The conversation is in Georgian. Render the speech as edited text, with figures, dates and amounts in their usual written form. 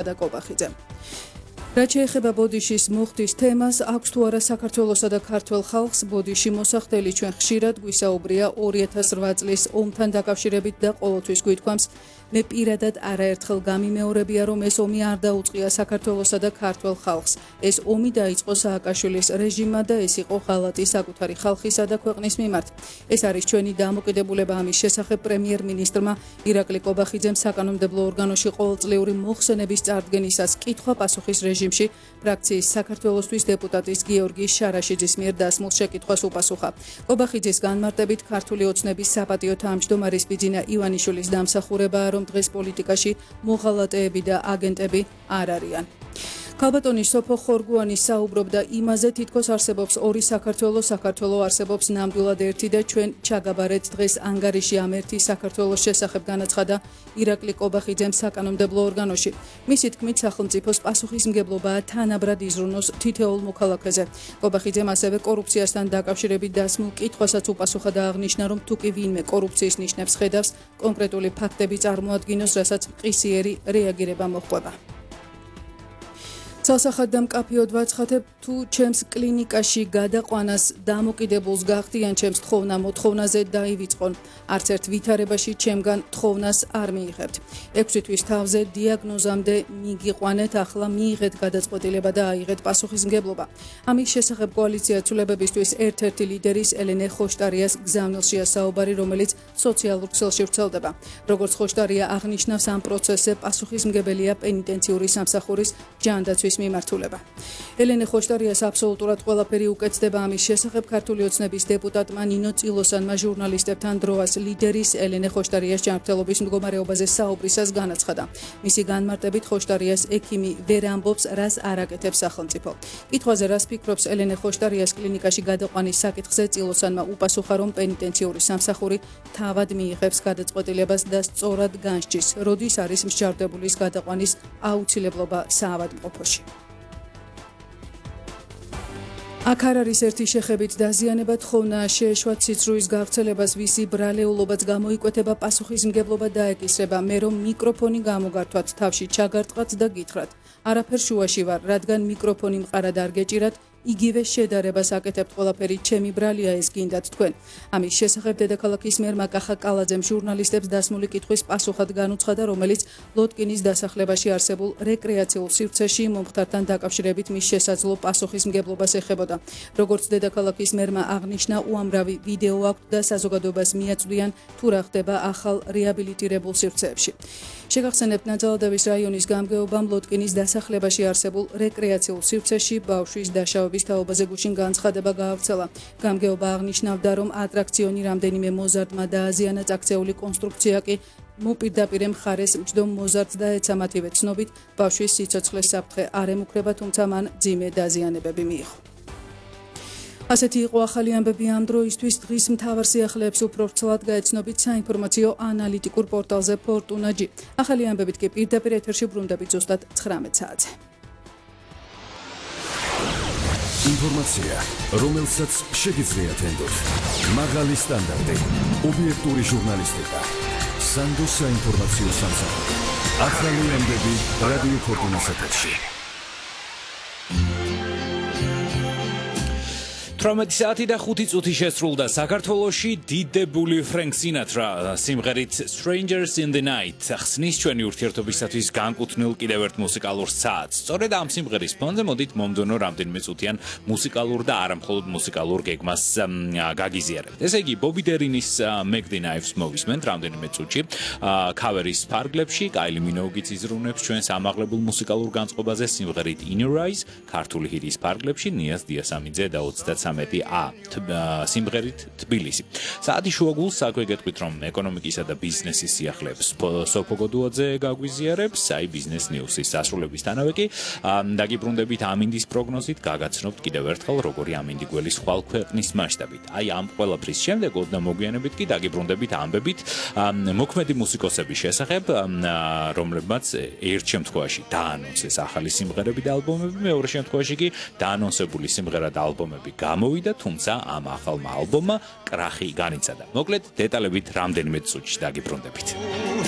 და კობახიძემ. რაც შეეხება ბოდიშის მოხდის თემას, აქვს თუ არა საქართველოსა და ქართველ ხალხს ბოდიში მოსახდელი ჩვენ ხშირად გვისაუბრია 2008 წლის ომთან დაკავშირებით და ყოველთვის გვითქვამს, მე პირადად არაერთხელ გამიმეორებია, რომ ეს ომი არ დაუწყია საქართველოსა და ქართველ ხალხს. ეს ომი დაიწყო სააკაშვილის რეჟიმმა და ეს იყო ღალატი საკუთარი ხალხისა და ქვეყნის მიმართ. ეს არის ჩვენი დამოკიდებულება ამის შესახებ პრემიერ-მინისტრმა ირაკლი კობახიძემ საკანონმდებლო ორგანოში ყოველწლიური მოხსენების წარდგენისას კითხვა-პასუხის რეჟიმში ფრაქციის საქართველოსთვის დეპუტატის გიორგი შარაშიძის მიერ დასმულ შეკითხვას უპასუხა. კობახიძის განმარტებით ქართული ოცნების საპატიო თავმჯდომარის ბიძინა ივანიშვილის დამსახურებაა, რომ დღეს პოლიტიკაში მოღალატეები და აგენტები არ არიან. ქალბატონი სოფო ხორგუანი საუბრობდა იმაზე, თითქოს არსებობს ორი საქართველო, საქართველო არსებობს ნამდვილად ერთი და ჩვენ ჩაგაბარეთ დღეს ანგარიში ამ ერთი საქართველოს შესახებ განაცხადა ირაკლი კობახიძემ საკანონმდებლო ორგანოში. მისი თქმით, სახელმწიფოს პასუხისმგებლობაა თანაბრად იზრუნოს თითოეულ მოქალაქეზე. კობახიძემ ასევე კორუფციასთან დაკავშირებით დასმულ კითხვასაც უპასუხა და აღნიშნა, რომ თუ კი ვინმე კორუფციის ნიშნებს ხედავს, კონკრეტული ფაქტები წარმოადგინოს, რასაც მყისიერი რეაგირება მოჰყვება. ცალსახად და მკაფიოდ ვაცხადებ, თუ ჩემს კლინიკაში გადაყვანას დამოკიდებულს გახდიან ჩემს მოთხოვნაზე დაივიწყონ. არც ერთ ვითარებაში ჩემგან თხოვნას არ მიიღებთ. 6 თვის თავზე დიაგნოზამდე მიგიყვანეთ, ახლა მიიღეთ გადაწყვეტილება და აიღეთ პასუხისმგებლობა. ამის შესახებ კოალიცია ცვლილებებისთვის ერთ-ერთი ლიდერის ელენე ხოშტარიას გზავნილშია საუბარი, რომელიც სოციალურ ქსელში ვრცელდება. როგორც ხოშტარია აღნიშნავს, ამ პროცესზე პასუხისმგებელია პენიტენციური სამსახურის ჯანდაცვის მიმართულება. ელენე ხოშტარიას აბსოლუტურად ყველაფერი უკეთდება ამის შესახებ ქართული ოცნების დეპუტატმა ნინო წილოსანმა ჟურნალისტებთან დროას ლიდერის ელენე ხოშტარიას ჯანმრთელობის მდგომარეობაზე საუბრისას განაცხადა. მისი განმარტებით ხოშტარიას ექიმი ვერ ამბობს, რას არ აკეთებს სახელმწიფო. კითხვაზე რას ფიქრობს ელენე ხოშტარიას კლინიკაში გადაყვანის საკითხზე წილოსანმა უპასუხა, რომ პენიტენციური სამსახური თავად მიიღებს გადაწყვეტილებას და სწორად განსჯის, როდის არის მსჯავრდებულის გადაყვანის აუცილებლობა საავადმყოფოში. აქ არ არის ერთი შეხებით დაზიანება, თხოვნა შეეშვა ციცრუის გავრცელებას, ვისი ბრალეულობაც გამოიკვეთება, პასუხისმგებლობა დაეკისრება, მე რომ მიკროფონი გამოგართვათ, თავში ჩაგარტყათ და გითხრათ. არაფერ შუაში ვარ, რადგან მიკროფონი მყარად არ გეჭირათ, იგივე შედარებას აკეთებთ, ყველაფერი ჩემი ბრალია ეს გინდათ თქვენ. ამის შესახებ დედაქალაქის მერმა კახა კალაძემ ჟურნალისტებს დასმული კითხვის პასუხად განუცხადა, რომელიც ლოტკინის დასახლებაში არსებულ რეკრეაციულ სივრცეში მომხდართან დაკავშირებით მის შესაძლო პასუხისმგებლობას ეხებოდა. როგორც დედაქალაქის მერმა აღნიშნა, უამრავი ვიდეო აქვთ და საზოგადოებას მიაწვდიან, თუ რა ხდება ახალ რეაბილიტირებულ სივრცეებში. შეგახსენებთ, ნაძალადევის რაიონის გამგეობამ ლოტკინის დასახლებაში არსებულ რეკრეაციულ სივრცეში ბავშვის დაშავების თაობაზე გუშინ განცხადება გაავრცელა. გამგეობა აღნიშნავდა, რომ ატრაქციონი რამდენიმე მოზარდმა დააზიანა, წაქცეული კონსტრუქცია კი მოპირდაპირე მხარეს მჯდომ მოზარდს დაეცა. მათივე ცნობით, ბავშვის სიცოცხლეს საფრთხე არ ემუქრება, თუმცა მან მძიმე დაზიანებები მიიღო. ასეთი იყო ახალი ამბები ამ დროისთვის. დღის მთავარ სიახლეებს უფრო ვრცლად გაეცნობით საინფორმაციო ანალიტიკურ პორტალზე Fortuna.gi. ახალი ამბებით კი პირდაპირ ეთერში ბრუნდებით ზუსტად 19 საათზე. ინფორმაცია, რომელსაც შეგიძლიათ ენდოთ. მაღალი სტანდარტი, ობიექტური ჟურნალისტიკა. სანდოს საინფორმაციო სამსახური. ახალი ამბები რადიო Fortuna-ს ეთერში. 18 საათი და 5 წუთი შესრულდა საქართველოში დიდებული ფრენკ სინატრა სიმღერით Strangers in the Night ხსნის ჩვენი ურთიერთობისათვის განკუთვნილ კიდევ ერთ მუსიკალურ საათს. სწორედ ამ სიმღერის ფონზე მოდით მომდევნო რამდენიმე წუთიან მუსიკალურ და არა მხოლოდ მუსიკალურ გეგმას გაგიზიარებთ. ესე იგი, ბობი დერინის Make the Knives მოვისმენთ რამდენიმე წუთში. ქავერის ფარგლებში კაილი მინოუგიც იზრუნებს ჩვენს ამაღლებულ მუსიკალურ განწყობაზე სიმღერით In Your Eyes, ქართული ჰიტის ფარგლებში ნიაზ დიასამიძე და 33A სიმღერით თბილისი. საათი შუაგულს საქმე გეტყვით, რომ ეკონომიკისა და ბიზნესის სიახლეებს სოფო გოდუაძე გაგვიზიარებს, აი ბიზნეს ნიუსის დასრულებისთანავე კი დაგიბრუნდებით ამინდის პროგნოზით, გაგაცნობთ კიდევ ერთხელ როგორი ამინდი გველის ხვალ ქვეყნის მასშტაბით. აი ამ ყველაფრის შემდეგ ოდნა მოგვიანებით კი დაგიბრუნდებით ამბებით მოქმედი მუსიკოსების შესახებ, რომლებმაც ერთ შემთხვევაში დაანონსეს ახალი სიმღერები და ალბომები, მეორე შემთხვევაში კი დაანონსებული სიმღერა და ალბომები გამოვიდა, თუმცა ამ ახალმა ალბომმა კრახი განიცადა. მოკლედ, დეტალებით რამდენიმე წუთში დაგიბრუნდებით.